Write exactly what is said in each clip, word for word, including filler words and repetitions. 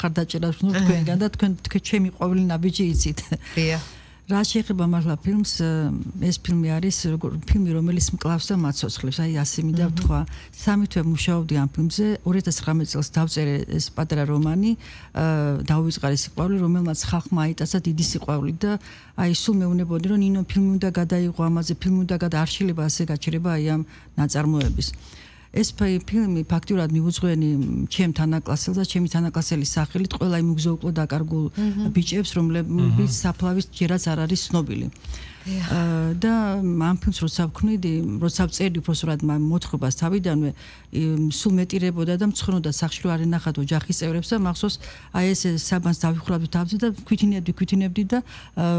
ხარდაჭერას ნუ თქვენგან და თქვენ თქვენ ჩემი ყოველი ნაბიჯი იცით. დიახ. რა შეეხება მართლა ფილმს, ეს ფილმი არის ფილმი, რომელიც მკლავს და მაცოცხლებს, აი ასე მინდა ვთქვა. სამი თვე მუშაობდი ამ ფილმზე, ორი ათას ცხრამეტ წელს დავწერე ეს პატარა რომანი, დავიწყარე სიყვარული, რომელმაც ხალხმა აიტაცა დიდი სიყვარული და აი სულ მეუბნებოდი, რომ ნინო ფილმი უნდა გადაიღო ამაზე, ფილმი უნდა გადაარჩილება, ასე გაჩერება აი ამ ნაწარმოების. ეს ფილმი ფაქტიურად მიუძღვენი ჩემ თანაკლასელს და ჩემი თანაკლასელის სახელით ყველა იმ უგზო-უკლო დაკარგულ ბიჭებს, რომლებიც საფლავის ჯერაც არ არის ცნობილი. და ამ ფილმს როცა ვქმნიდი, როცა ვწერდი უბრალოდ მოთხრობას თავიდანვე, სულ მეტირებოდა და მცხრნოდა სახში რომ არ ენახათ ოჯახის წევრებს და მახსოვს აი ეს საბანს დავიხურავდი თავზე და ქვითინებდი, ქვითინებდი და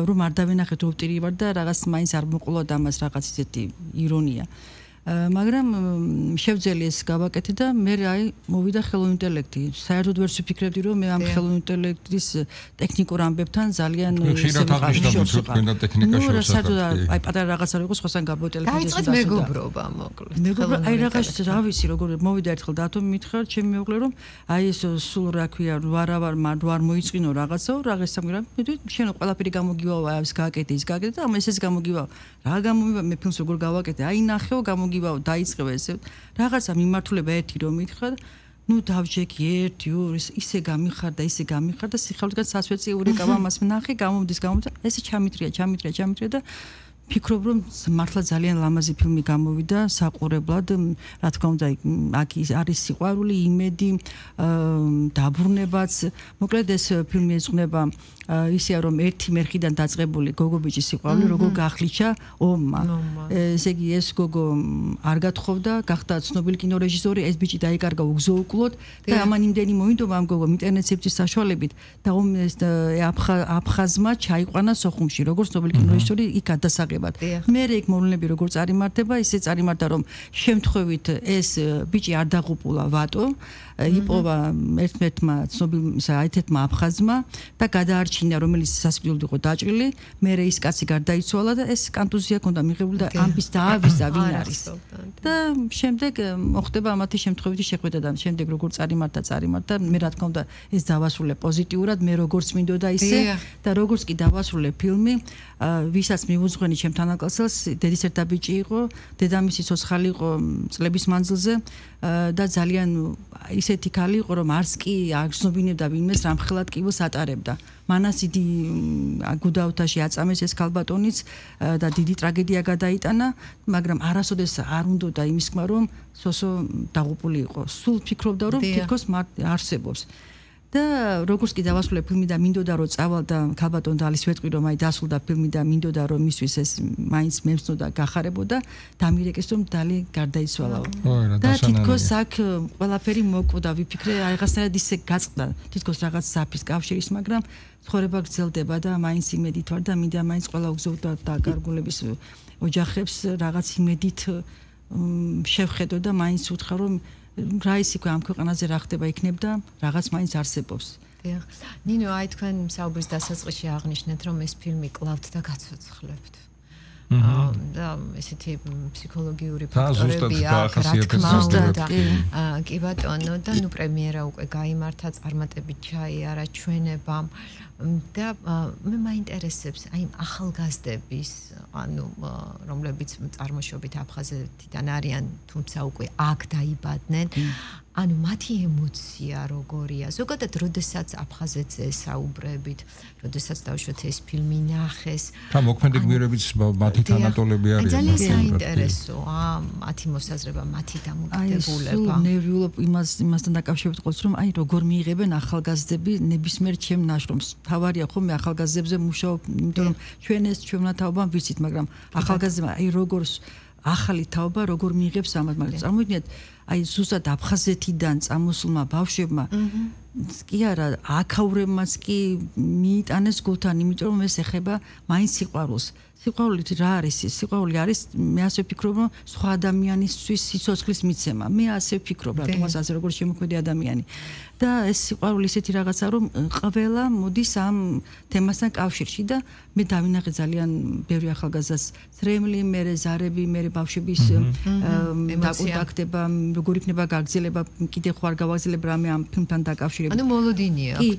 რომ არ დავენახეთ ოპტირი ვარ და რაღაც მაინც არ მოყოლა და ამას რაღაც ისეთი ირონია. მაგრამ შევძელი ეს გავაკეთე და მე აი მოვიდა ხელოვნური ინტელექტი. საერთოდ ვერ ვფიქრებდი რომ მე ამ ხელოვნური ინტელექტის ტექნიკურ ამბებთან ძალიან ხშირად აღნიშნავთ რომ თქვენ და ტექნიკა შევსახებთ. აი პატარა რაღაცა რო იყოს ხოსან გაბო ტელეფონზე. დაიწყეთ მეგობრობა მოკლედ. მეგობრობა აი რაღაც რა ვიცი როგორ მოვიდა ერთხელ დათომ მითხრა ჩემი მეუღლე რომ აი ეს სულ რა ქვია ვარავარ არ მოიწყინო რაღაცაო რაღაცა მაგრამ შენ ყველაფერი გამოგივაო აი ეს გააკეთე ის გააკეთე და ამას ეს გამოგივაო. რა გამომივა მე ფილმს როგორ გავაკეთე აი ნახეო გამოგივაო დაიწყება ესე რაღაცა მიმართულება ერთი რომ მითხრა ნუ დავჯექი ერთი ორი ისე გამიხარდა ისე გამიხარდა სიხარულიდან სასვეწიური გავა მას ნახე გამომდის გამომდა ესე ჩამიტრია ჩამიტრია ჩამიტრია და ფიქრობ რომ მართლა ძალიან ლამაზი ფილმი გამოვიდა საყურებლად რა თქმა უნდა აქ არის სიყვარული იმედი დაბრუნებაც მოკლედ ეს ფილმი ეძღვნება ისეა რომ ერთი მერხიდან დაწყებული გოგო ბიჭის სიყვარული როგორ გახლიჩა ომმა ესე იგი ეს გოგო არ გათხოვდა გახდა ცნობილი კინორეჟისორი ეს ბიჭი დაიკარგა უგზო-უკლოდ და ამან იმდენი მოინდომა ამ გოგო ინტერნეტ სივრცის საშუალებით და აფხაზმა ჩაიყვანა სოხუმში როგორც ცნობილი კინორეჟისორი იქ გადასაღებად მე იქ მოვლენები როგორ წარიმართება ისე წარიმართა რომ შემთხვევით ეს ბიჭი არ დაღუპულა ვატო იპოვა ერთ-ერთმა ცნობილ აითეთმა აფხაზმა და გადაარჩინა რომელიც სასიკვდილოდ იყო დაჭრილი მე ის კაცი გარდაიცვალა და ეს კანტუზია ჰქონდა მიღებული და ამბის დაავიზა ვინ არის და შემდეგ მოხდება ამათი შემთხვევითი შეხვედრა და შემდეგ როგორ წარიმართა წარიმართა მე რა თქმა უნდა ეს დავასრულე პოზიტიურად მე როგორც მინდოდა ისე და როგორც კი დავასრულე ფილმი ვისაც მიუძღვენი ჩემ თანაკლასელს დედის ერთა ბიჭი იყო დედამისი ცოცხალი იყო წლების მანძილზე და ძალიან ისეთი ქალი იყო რომ არც კი არ გრძნობინებდა ვინმეს რამხელად კიბოს ატარებდა მანას დიდი გუდაუთაში აწამეს ეს ქალბატონიც და დიდი ტრაგედია გადაიტანა მაგრამ არასოდეს არ უნდოდა იმის თქმა რომ სოსო დაღუპული იყო სულ ფიქრობდა რომ თითქოს არსებობს და როგორც კი დავასრულე ფილმი და მინდოდა რომ წავალ და ქალბატონ დალის ვეტყვი რომ აი დასრულდა ფილმი და მინდოდა რომ მისთვის ეს მაინც მემცნოდა გახარებოდა დამირეკეს რომ დალი გარდაიცვალაო და თითქოს აქ ყველაფერი მოკვდა ვიფიქრე რაღაცნაირად ისე გაწყდა თითქოს რაღაც საფის კავშირის მაგრამ ცხოვრება გრძელდება და მაინც იმედით ვარ და მინდა მაინც ყველა უგზო და გარგულების ოჯახებს რაღაც იმედით შევხედო და მაინც უთხრა რომ რა ის იქ ამ ქვეყანაზე რა ხდება იქნებდა რაღაც მაინც არსებობს. დიახ. ნინო, აი თქვენ საუბრის დასაწყისში აღნიშნეთ რომ ეს ფილმი კლავთ და გაცოცხლებთ. და ესეთი ფსიქოლოგიური ფაქტორები აქვს რა თქმა უნდა. კი ბატონო და ნუ პრემიერა უკვე გაიმართა წარმატებით ჩაიარა ჩვენებამ და მე მაინტერესებს აი ახალგაზრდების ანუ რომლებიც წარმოშობით აფხაზეთიდან არიან თუმცა უკვე აქ დაიბადნენ ანუ მათი ემოცია როგორია ზოგადად როდესაც აფხაზეთზე საუბრებით როდესაც დავშვათ ეს ფილმი ნახეს და მოქმედი გმირებიც მათი თანატოლები არიან ძალიან საინტერესოა მათი მოსაზრება მათი დამოკიდებულება აი ნერვიულობ იმას იმასთან დაკავშირებით ყოლს რომ აი როგორ მიიღებენ ახალგაზრდები ნებისმიერ ჩემ ნაშრომს თავარია ხომ მე ახალგაზრდებზე მუშაობ იმიტომ რომ ჩვენ ეს ჩვენმა თაობამ ვიცით მაგრამ ახალგაზრდა აი როგორ ახალი თაობა როგორ მიიღებს ამას მაგრამ წარმოიდგინეთ აი ზუსტად აფხაზეთიდან წამოსულმა ბავშვებმა კი არა აქაურებმაც კი მიიტანეს გულთან იმიტომ რომ ეს ეხება მაინც სიყვარულს სიყვარული რა არის ის სიყვარული არის მე ასე ვფიქრობ რომ სხვა ადამიანისთვის სიცოცხლის მიცემა მე ასე ვფიქრობ რატომაც ასე როგორც შემოქმედი ადამიანი და ეს სიყვარული ისეთი რაღაცა რომ ყველა მოდის ამ თემასთან კავშირში და მე დავინახე ძალიან ბევრი ახალგაზრდას ძრემლი მერე ზარები მერე ბავშვების დაკონტაქტება როგორ იქნება გაგრძელება კიდე ხო არ გავაგრძელებ რამე ამ ფილმთან დაკავშირებით ანუ მოლოდინია კი